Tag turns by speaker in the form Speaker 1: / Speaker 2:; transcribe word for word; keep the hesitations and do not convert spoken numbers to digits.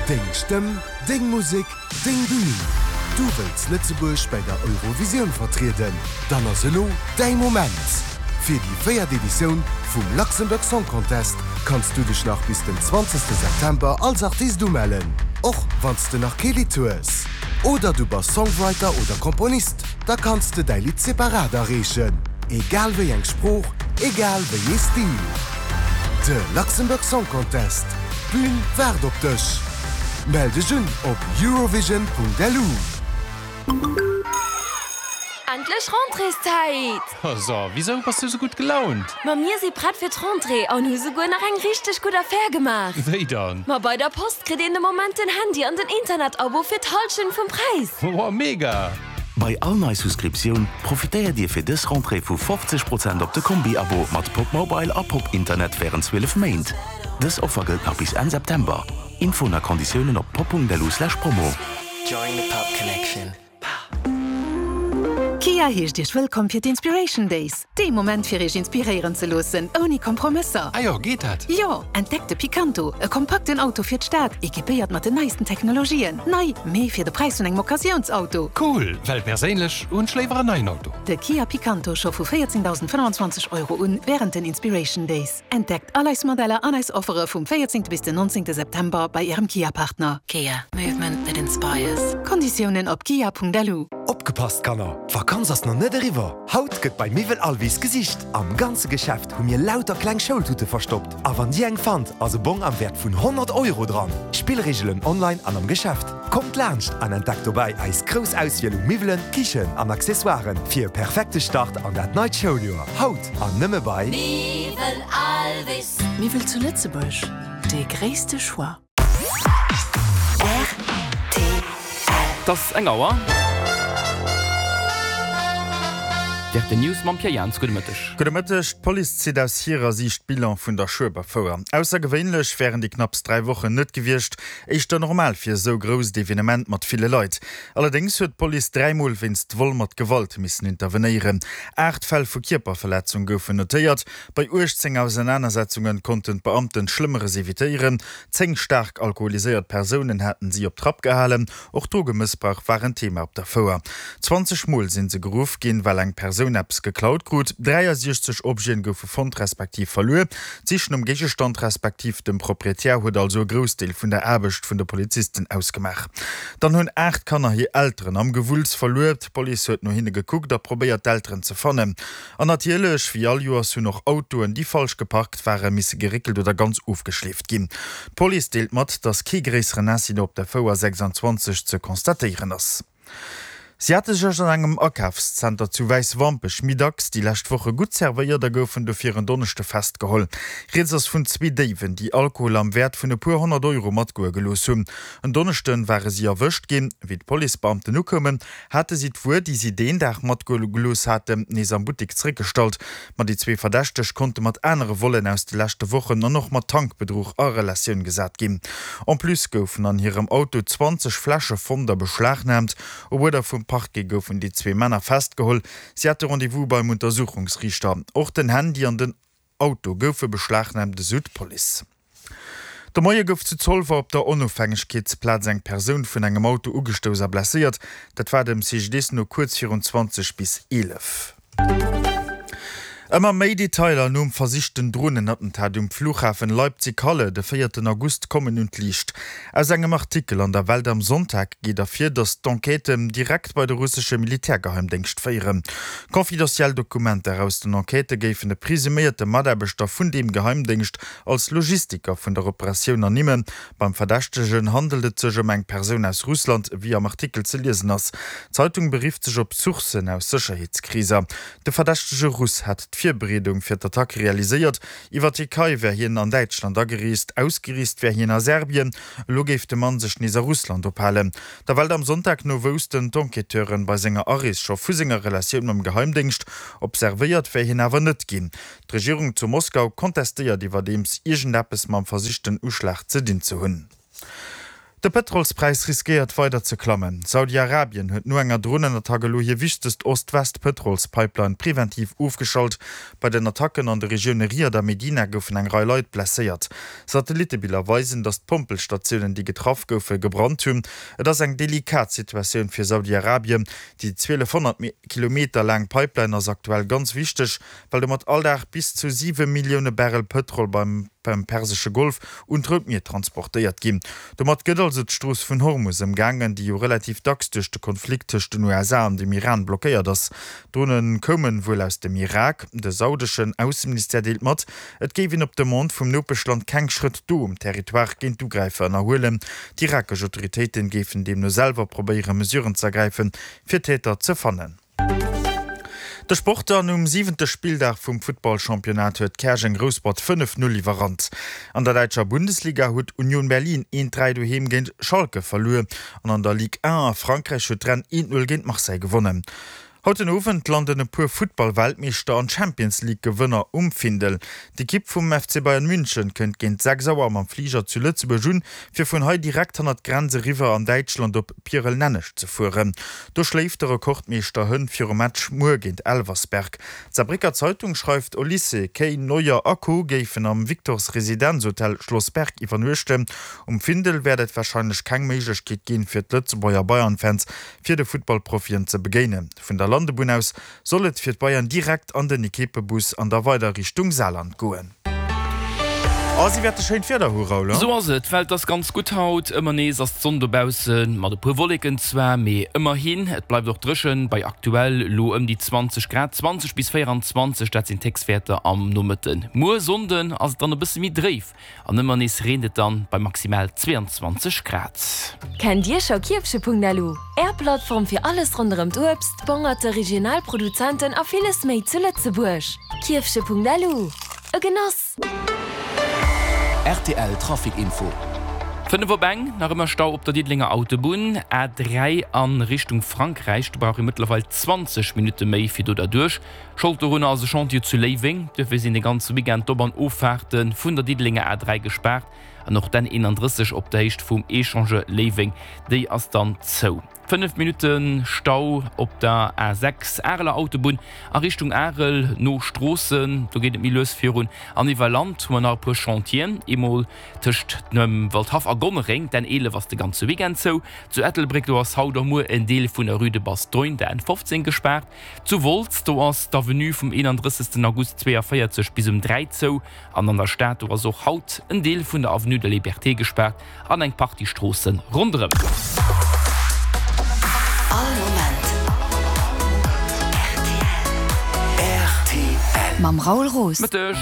Speaker 1: Deng Stëmm, deng Musek, deng Bün! Du wëlls Lëtzebuerg bei der Eurovisioun vertrieden? Dann ass elo däi Moment! Fir déi véiert Editioun vum Luxembourg Song Contest kanns du dech nach bis den zwanzegste September als Artist umellen, och wann s de nach kee Lidd hues. Oder du bass Songwriter oder Komponist, da kanns de däi Lidd separat areechen. Egal wéi eng Sprooch, egal wéi ee Stil. De Luxembourg Song Contest, d'Bün waart op dech! Mell dech un op eurovision.lu.
Speaker 2: Endlech Rentréeszäit!
Speaker 3: So, wisou bass du sou gutt gelaunt?
Speaker 2: Ma mir si prett fir d'Rentrée an hu souguer nach eng richteg gutt Affär gemaach.
Speaker 3: Wéi dann?
Speaker 2: Ma bei der Post kritt een de Moment den Handy an den Internetabo fir d'Hallschent vum Präis.
Speaker 3: Wow, mega!
Speaker 4: Bei all nei Souscriptioun profitéiert Dir fir dës Rentrée vu fofzeg Prozent op de Kombi-Abo mat Popmobile a Pop-Internet wärend zwielef Méint. Dës Offer gëllt nach bis Enn September. Infoen a Konditiounen op pop.lu slash promo.
Speaker 5: Join the Pop Connection.
Speaker 6: Kia heescht Iech wëllkomm fir d'Inspiration Days, dee Moment fir Iech inspiréieren ze loossen, ouni Kompromësser.
Speaker 3: Ah jo, geet dat?
Speaker 6: Jo, entdeckt de Picanto, e kompakten Auto fir d'Stad, equipéiert mat den neisten Technologien. Nei, mee fir de Präis vun engem Occasiounsauto.
Speaker 3: Cool, well perséinlech hunn ech léiwer en neien Auto.
Speaker 6: De Kia Picanto scho vu véierzehndausendfënnwandzwanzeg Euro un wärend den Inspiration Days. Entdeckt all eis Modeller an eis Offere vum véierzéngte bis den nonzéngte September bei Ärem Kia-Partner.
Speaker 7: Kia, movement that inspires.
Speaker 6: Konditiounen op kia.lu.
Speaker 8: Opgepasst Kanner, d'Vakanz ass nach net eriwwer! Haut gëtt bei Miwwel Alvis gesicht! Am ganze Geschäft hu mir lauter kleng Schoultute verstoppt a wann dir eng fannt, ass e Bong am Wäert vun honnert Euro dran! Spillreegelen online an am Geschäft. Kommt laanscht an entdeckt dobäi eis grouss Auswiel u Miwwelen, Kichen an Accessoiren fir e perfekte Start an dat neit Schouljoer. Haut an nëmme bei
Speaker 7: Miwwel Alvis.
Speaker 9: Miwwel zu Lëtzebuerg, dee gréisste Choix.
Speaker 7: Rtl.
Speaker 10: Et ass eng Auer. D R T News mam Pierre Jans. Gudde Mëtteg.
Speaker 11: Gudde Mëtteg. D'Police zitt aus hirer Siicht Bilan vun der Schueberfouer. Aussergewéinlech wären déi knapps dräi Wochen net gewiescht, éischter normal fir esou grousst Evenement mat ville Leit. Allerdéngs huet d'Police dräimol wéinst Vol mat Gewalt missen intervenéieren. Aacht Fäll vu Kierperverletzung goufen notéiert. Bei uechtzéng Ausenanersetzunge konnten d'Beamten Schlëmmeres evitéieren. Zéng staark alkoholiséiert Persounen haten si op Trapp gehalen. Och Drogemëssbrauch war en Thema op der Fouer. Zwanzeg Mol sinn se geruff ginn, well eng Persoun eppes geklaut krut. dräiasechzeg Objeten goufe fonnt respektiv verluer. D'Sich nom Géigestand respektiv dem Proprietär huet also e Groussdeel vun der Aarbecht vun de Polizisten ausgemaach. Dann hunn aacht Kanner hir Elteren am Gewulls verluer. D'Police huet no hinne gekuckt a probéiert d'Elteren ze fannen. An natierlech, wéi all Joers hunn och Autoen, déi falsch geparkt waren, misse geréckelt oder ganz ofgeschleeft ginn. D'Police deelt mat, dass kee gréisseren Incident op der Fouer sechsandzwanzeg ze constatéieren ass. Si hate sech an engem Akafszenter zu Wäiswampech méi dacks déi lescht Woche gutt zerwéiert a goufen dofir en Donneschde festgeholl. Rieds ass vun zwee Déiwen, déi Alkohol am Wäert vun e puer honnert Euro matgoe gelooss hunn. En Donneschde ware si erwëscht ginn. Wéi d'Policebeamten ukoumen, hate si d'Wuer, déi si deen Dag matgoe gelooss haten, nees am Buttek zeréckgestallt. Ma déi zwee Verdächteg konnte mat anere Vollen aus de leschte Wochen an och mat Tankbedruch a Relatioun gesat ginn. En plus goufen an hirem Auto zwanzeg Fläsche fonnt a beschlagnaamt. Op Uerder vum Parquet goufen déi zwee Männer festgeholl. Si hate Rendez-vous beim Untersuchungsriichter. Och den Handy an den Auto goufe beschlagnaamt, esou d'Police. De Moie gouf zu Zolwer op der Onofhängegkeetsplaz eng Persoun vun engem Auto ugestouss a blesséiert. Dat war dem C G D S no kuerz virun zwanzeg bis eelef. Ëmmer méi Detailer nom versichten Drohnenattentat um Flughafen Leipzig-Halle de véierten August kommen un d'Liicht. Aus engem Artikel an der Welt am Sonntag geet ervir, datt d'Enquêten direkt bei de russesche Militärgeheimdéngscht féieren. Confidentiel Dokumenter aus den Enquêtë géifen e presuméierte Mataarbechter vun deem Geheimdéngscht als Logistiker vun der Operatioun ernimmen. Beim Verdächtegen handelt et sech ëm eng Persoun aus Russland, wéi am Artikel ze liesen ass. D'Zeitung berifft sech op Sourcen aus Sécherheetskreeser. De verdächtege Russ hätt d'Virbereedung fir d'Attack realiséiert. Iwwer d'Tierkei wär hien an Däitschland agereest, ausgereest wär hien a Serbien. Elo géif de Mann sech nees a Russland ophalen. Der Welt am Sonntag no woussten d'Enquêteuren bei senger Arees scho vu senger Relatioun mam Geheimdéngscht. Observéiert wär hien awer net ginn. D'Regierung zu Moskau kontestéiert iwwerdeems, iergendeppes mam versichten Uschlag ze dinn ze hunn. De Pëtrolspräis riskéiert weider ze klammen. Saudi-Arabien huet no enger Dronenattack elo hir wichtegst Ost-West-Pëtrolspipeline preventiv ofgeschalt. Bei den Attacken an de Regioune Riad a Medina goufen eng Rei Leit blesséiert. Satellittebiller weisen, datt d'Pompelstatiounen, déi getraff goufen, gebrannt hunn. Et ass eng delikat Situatioun fir Saudi-Arabien. Déi zwielefhonnert Kilometer laang Pipeline ass aktuell ganz wichteg, well domat all Dag bis zu siwe Millioune Barrel Pëtrol beim Persesche Golf un d'Rout Mier transportéiert ginn. Domat gëtt also d'Strooss vun Hormus ëmgaangen, déi jo relativ dacks duerch de Konflikt tëscht den U S A an dem Iran blockéiert ass. D'Drone koume wuel aus dem Irak. De saudeschen Ausseministère deelt mat, et géif een op Demande vum Nopeschland keng Schrëtt do um Territoire géint d'Ugräifer ënnerhuelen. D'irakesch Autoritéiten géifen deemno selwer probéiere Mesuren z'ergräifen, fir d'Täter ze fannen. De Sport dann, Um siwente Spilldag vum Futtballchampionnat huet Käerjeng Rouspert fënnef Null iwwerrannt. An der däitscher Bundesliga huet Union Berlin eent dräi doheem géint Schalke verluer an an der Ligue un a Frankräich huet Rennes eent Null géint Marseille gewonnen. Haut den Owend landen e puer Futtball-Weltmeeschter an Champions-League-Gewënner um Findel. D'Ekipp vum F C Bayern München kënnt géint sechs Auer mam Fliger zu Lëtzebuerg un, fir vun hei direkt hannert d'Grenz eriwwer an Däitschland op Pierel-Nenneg ze fueren. Do schléift de Rekordmeeschter Hënn virum Match muer géint Elversberg. D'Saarbrécker Zeitung schreift, Olise, Kane, Neuer a Co. Géifen am Victors Residenzhotel Schloss Berg iwwernuechten. Um Findel wäert et warscheinlech keng Méiglechkeet ginn, fir d'Lëtzebuerger Bayern-Fans fir de Futtballprofien ze begéinen. Vun der Landebunn aus soll et fir d'Bayern direkt an den Ekippebus an da weider Richtung Saarland goen. A si wäerte schéint Wieder hu, Raoul,
Speaker 10: Esou ass et, d'Welt ass ganz gutt haut. Ëmmer nees ass d'Sonn dobaussen, mat e puer Wolleken zwar, mee ëmmerhin. Et bleift och dréchen, bei aktuell elo ëm déi zwanzeg Grad, zwanzeg bis véierundzwanzeg, dat sinn d'Héchstwäerter am Nomëtten. Muer Sonnden ass et dann e bësse méi dréif an ëmmer nees reent et dann bei maximal zweeanzwanzeg Grad.
Speaker 2: Kennt Dir scho Kierfche Punkt L U? Är Plattform fir alles ronderëm d'Uebst, d'Bongerte, regional Produzenten a villes méi zu Lëtzebuerg. Kierfche Punkt L U, e Genoss!
Speaker 4: R T L Trafic Info.
Speaker 10: Fënnef op eng, nach ëmmer Stau op der Diddelenger Autobunn, A dräi a Richtung Frankräich. Do brauch ee mëttlerweil zwanzeg Minutte méi fir do derduerch. Schold dorunner ass e Chantier zu Léiweng. Duerfir sinn de ganze Weekend d'Op an Offaarte vun der Diddelenger A dräi gespaart an och d'N eenanddrësseg op der Héicht vum Echangeur Léiweng, déi ass dann zou. Fënnef Minutte Stau op der A sechs, Areler Autobunn a Richtung Arel no Stroossen, do geet et méi lues virun. An iwwer Land hu mer nach e puer Chantieren, eemol tëscht dem Waldhaff a Gonnereng, d'N eelef ass de ganze Weekend zou. Zu Ettelbréck, do ass haut a muer en Deel vun der Rue de Bastogne, der N fofzéng gespaart. Zu Wolz, do ass d'Avenue vum eenanddrëssegsten August zweeënvéierzeg bis um dräi zou. An an der Stad, do ass och haut en Deel vun der Avenue de Liberté gespaart an eng Partie Stroosse ronderëm.
Speaker 7: All Moment
Speaker 4: R T L.
Speaker 7: Mam Raoul Roos.
Speaker 10: Mëtteg.